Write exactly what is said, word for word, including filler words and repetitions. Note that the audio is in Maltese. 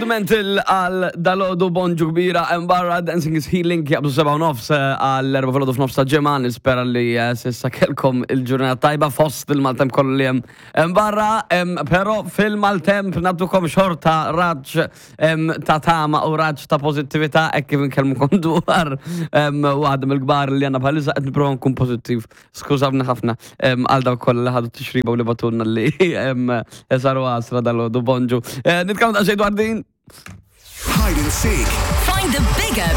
Rudimental għal dalgħodu. Bonġu kbira hemm barra. Dancing is Healing, jaqbżu seba' u nofs eh, għal erba' filgħodu f'nofs ta' ġimgħa. Nispera li eh, s'issa kelkom il-ġurnata tajba fost il-maltemp kollu li hemm hemm barra, em, però fil-maltemp nagħtukom xorta raġġ em, ta' tama u raġġ ta' pożittività hekk kif nkellmukom dwar em, waħda mill-kbar li għandna bħalissa. Qed nipprova nkun pożittiv. Skużawni ħafna em, għal dawk kollha li ħadu tixriba u li bagħtulna li em, saru għasra dalgħodu. Bonġu. Eh, Nitkellmu daqsxejn dwar din. Hide and seek. Find the bigger